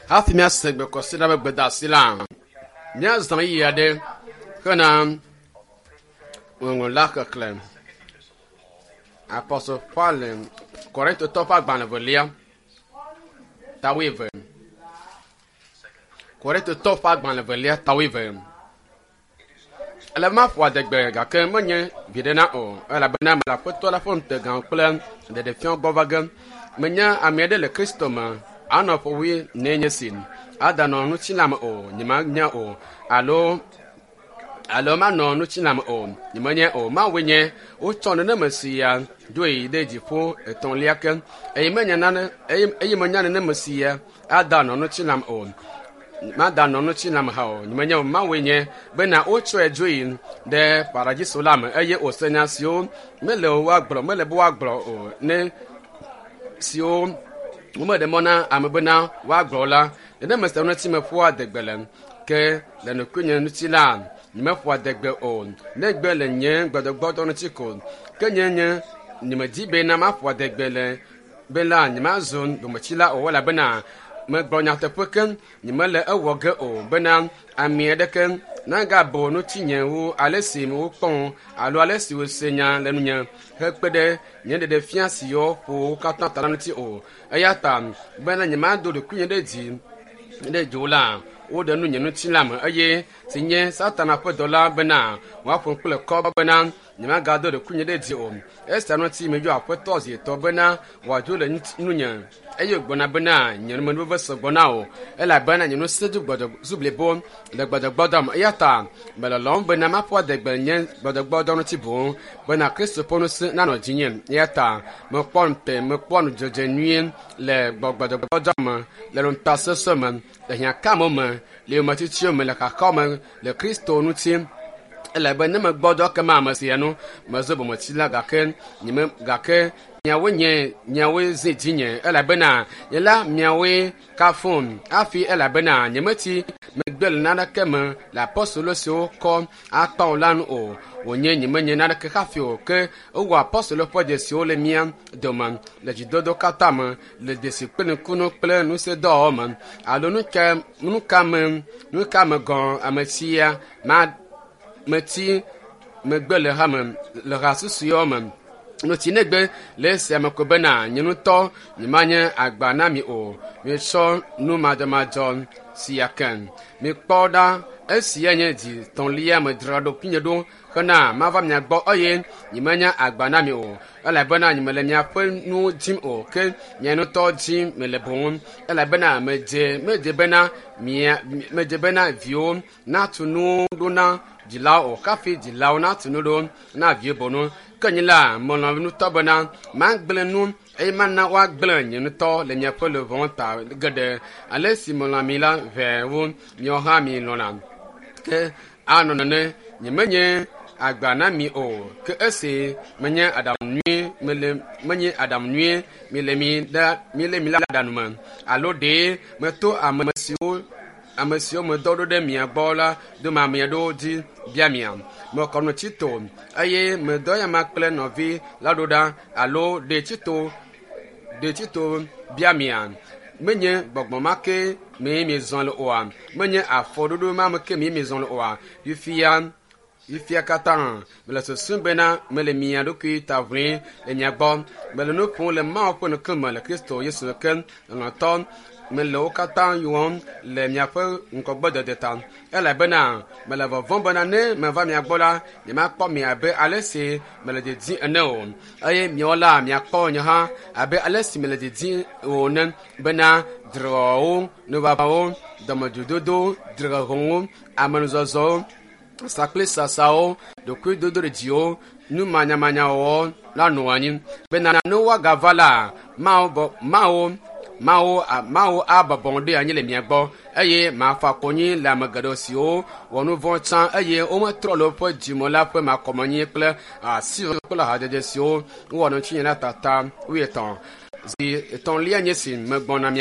Hafi míase gbekɔsi ɖa be gbedeasi la, míazã ɣeyiɣi aɖe hena ŋɔŋlɔ la xexlẽ. Apɔstol Paul Korintotɔ ƒe agbalẽ velia, ta wuieve. Korintotɔ ƒe agbalẽ velia, ta wuieve. Ele be maƒo adegbe gake menye viɖe na o elabena mele Aƒetɔ la ƒe ŋutegã kple ɖeɖefiawo gbɔ va ge. Menya ame aɖe le Kristo me anɔ ƒe wui ne nye si adanɔ ŋutilã me o nyemanya o alo alo manɔ ŋutilã me o nyemenye o. Mawue nye wotsɔ neneme sia ɖoe ɖe dziƒo etɔ̃lia ke eye menya nane eye eye menya neneme sia adanɔ ŋutilã me o madanɔ ŋutilã me hã o nyemenye o. Mawue nye bena wotsɔe dzoe ɖe paradiso la me eye wòse nya siwo mele woagblɔ mele be woagblɔ o ne siwo womeɖe mɔ na ame bena woagblɔ la nenema sia ŋuti meƒoa adegbe le ke le ɖokuinye ŋuti la nyemeƒoa adegbe o negbe le nye gbɔdɔgbɔdɔ ŋuti ko ke nye nye nyemedi bena maƒo adegbe le be la nyemazu bometsila o elabena megblɔ nyateƒe ke nyemele ewɔ ge o bena ame aɖeke nagabo ŋutinye wu ale si wokpɔm alo ale si wose nya le nunye hekpe ɖe nye ɖeɖefia siwo ƒo wo katã ta la ŋuti o. Eya ta bena nyemado ɖokuinye ɖe dzi ɖe dzo la woɖe nu nye ŋutilã me eye si nye Satana ƒe dɔla bena wòaƒom kple kɔ bena nyemagado ɖokuinye ɖe dzi o. Esia ŋuti meyɔ Aƒetɔ zi etɔ̃ bena wòadzo le nunye eye wògblɔna bena nye numenuveve sɔgbɔ na wò elabena nye ŋusẽ zu gbɔdzɔ zu blibo le gbɔdzɔgbɔdɔ me eya ta melɔlɔm bena maƒo adegbe nye gbɔdzɔgbɔdɔ ŋuti boŋ bena Kristo ƒe ŋusẽ nanɔ dzinye eya ta mekpɔ ŋute mekpɔ nudzedze nyuie le gbɔdzɔgbɔdɔ me le ŋutasesẽ me le hiãkame me le yometsitsiwo me le xaxawo me le Kristo ŋuti elabe ne megbɔdzɔ kema ame sia nu mezu bometsila gake nyeme gake miawoe nye miawoe zi dzinye elabena nye la miawoe kafum hafi elabena nyemetsi megbe le naneke me le apɔstolo siwo kɔ akpa o la nu o wònye nyemenye naneke hafi o ke wowɔ apɔstolo ƒe dzesiwo le mía dome le dzidodo katã me le dzesi kple nukunu kple ŋusẽdɔwɔwɔ me alo nu ka me nu ka me gɔ̃ ame sia ma metsi megbe le hame le ha susuewo me nutsi negbe le esia me ko bena nye ŋutɔ nyemanye agba na mi o mietsɔ nu madzɔmadzɔ sia ke mikpɔ ɖa esia nye dzi tɔ̃lia medzra ɖokuinye ɖo hena mava mia gbɔ eye nyemanye agba na mi o elabena nyemele miaƒe nuwo dim o ke mia ŋutɔ dim mele boŋ elabena medze medze bena mia medze bena viwo natu nuwo ɖo na dzilawo o hafi dzilawo natu nu ɖo na viwo boŋ ke nye la melɔ̃ ŋutɔ bena magblẽ nu eye mana woagblẽ nye ŋutɔ le miaƒe luʋɔ ta geɖe ale si melɔ̃ mi la ʋɛ wu miawo hã mi lɔ̃na ke anɔ nene nyemenye agba na mi o ke esi menye aɖaŋu nyui mele menye aɖaŋu nyui mi le mi la mi le mi la aɖaŋu me alo ɖe meto ame siwo ame siwo medɔ ɖo ɖe mia gbɔ la dome ame aɖewo dzi bia mia mekɔ nu Tito eye medɔ yama kple nɔvi la ɖo ɖa alo ɖe Tito ɖe Tito bia mia menye gbɔgbɔ ma ke mee miezɔ le oa menye afɔɖoɖo ma me ke mee miezɔ le oa fifia fifia katã mele susum bena mele mia ɖokui ta ʋlim le mia gbɔ mele nu ƒom le Mawu ƒe ŋkume le Kristo Yesu ke lɔlɔ̃tɔ mele wo katã wɔm le miaƒe ŋgɔgbedede ta elabena mele vɔvɔ̃m bena ne meva mia gbɔ la nyemakpɔ mi abe ale si mele didim ene o eye miawo la miakpɔ nye hã abe ale si mele didim o ene bena dzrewɔwɔwo nuʋaʋãwo dɔmedzoedodo dzrehehewo amenuzɔzɔwo sakplisasawo ɖokuidodoɖedziwo numanyamanyawɔwɔ la nɔ anyi bena ne woagava la mawo bɔ mawo mawo mawo abɔbɔ ɖe anyi le mia gbɔ eye mafa konyi le ame geɖewo siwo wɔ nu vɔ̃ tsã eye wometrɔ le woƒe dzime la ƒe makɔmenyi kple asi kple hadzedze siwo wowɔ ŋutinye la tata wuietɔ̃ zi etɔ̃lia nye si megbɔna mia.